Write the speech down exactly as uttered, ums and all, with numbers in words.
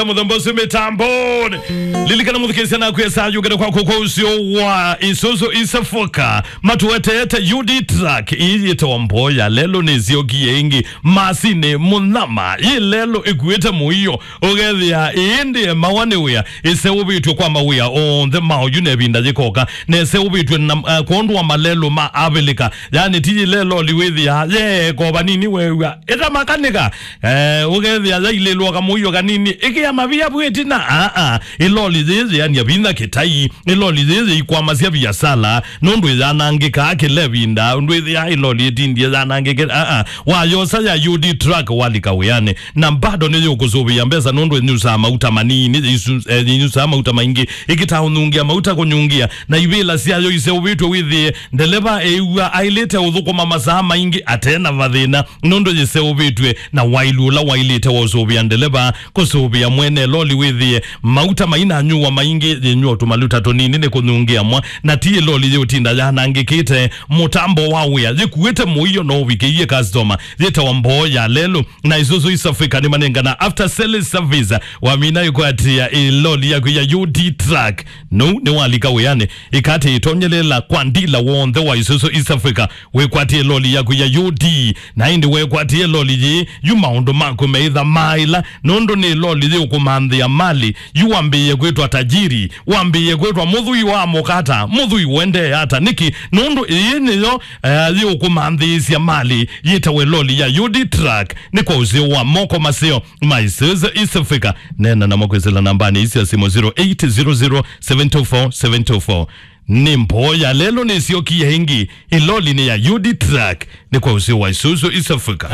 Mũthemba ũsu mĩtamboni. Lilikana mũthikĩĩsya naku esa yũkĩte kwaku kwa ũseo wa Isuzu East Africa. Matuetete U D truck ii yĩtawa Mboya lelũ nĩsyokie ĩngĩ. Masinĩ mũnyama. Yĩ lelũ ĩkuĩte mũio. Ũkethĩa ĩĩ ndĩ emawa nĩ wĩa. Ĩseũvĩtw'e kwa mawĩa onthe ma oyu na ĩvinda yĩkoka. Na ĩseũvĩtw'e na, eh, kwondũ wa malelũ ma Avilika. Yani ti yĩla ĩloli wĩthĩaa yeekova nini weew'a ĩtamakanika. Eh, ũkethĩa yailĩlwa kamũio kanini, ĩkĩa mavia vu ĩtina. Aa, ĩloli yĩĩ yĩania vinya kĩtai, ĩloli yĩĩ yĩikwamasya viasala, nũndũ ĩyanangĩkaa kĩla ĩvinda, ũndũ ĩthĩaa ĩloli ĩtindie yanangĩke. Aa, wayosa ya U D truck walika wĩanĩ, na bado nĩyũkũsũvĩa mbesa, nũndũ ĩnyusaa mauta manini, yĩsu-, eh, yĩnyusaa mauta maingĩ, ĩkĩtaa ũnyungia mauta kũnyungia, na ivĩla syayo iseũvĩtw'e wĩthĩe ndeleva eĩw'a aĩlĩte ũthũkũma masaa maingĩ ate na vathĩna. Nũndũ yĩseũvĩtw'e na waĩlu ũla waĩlĩte wa ũsũvĩa ndeleva, kũsũvĩa mwene loli wĩthĩe mauta mainanyuwa maingĩ, yĩnyuwa tũmaluta tũnini nĩ kũnyungĩa mwa, na ti ĩloli yĩũtinda yanangĩkĩte mũtambo wa wĩa, yĩkuĩte mũio no ũvikĩie customer, yĩtawa Mboya lelũ. Na Isuzu East Africa nĩmanengana after sales service, wamina ĩkwatĩa ĩloli yaku ya U D truck. Nũu nĩwalika wĩanĩ, ĩkatĩ ĩtonyelela kwa ndila w'onthe wa Isuzu East Africa. Wĩkwatie loli yaku ya U D, na ĩndĩ wekwatie loli yĩĩ, yu maũndũ maku meitha maĩla, nũndũ nĩ loli yĩũkũmanthĩa mali, yu wambĩĩe kwĩtwa tajiri, wambĩĩe kwĩtwa mũthui wa mũkata, mũthui ũendee ata. Nĩkĩ? Nũndũ ĩĩ nĩyo, eh, yĩũkũmanthĩĩsya mali yĩtawe loli ya U D truck, nĩ kwa ũseo wa moko maseo ma Isuzu East Africa. Neena namo kwĩsĩla nambanĩ ii sya simũ zero eight zero zero seven two four seven two four. Nĩ Mboya lelũ nĩsyokie ĩngĩ, ĩloli nĩ ya U D truck, nĩ kwa ũseo wa Isuzu East Africa.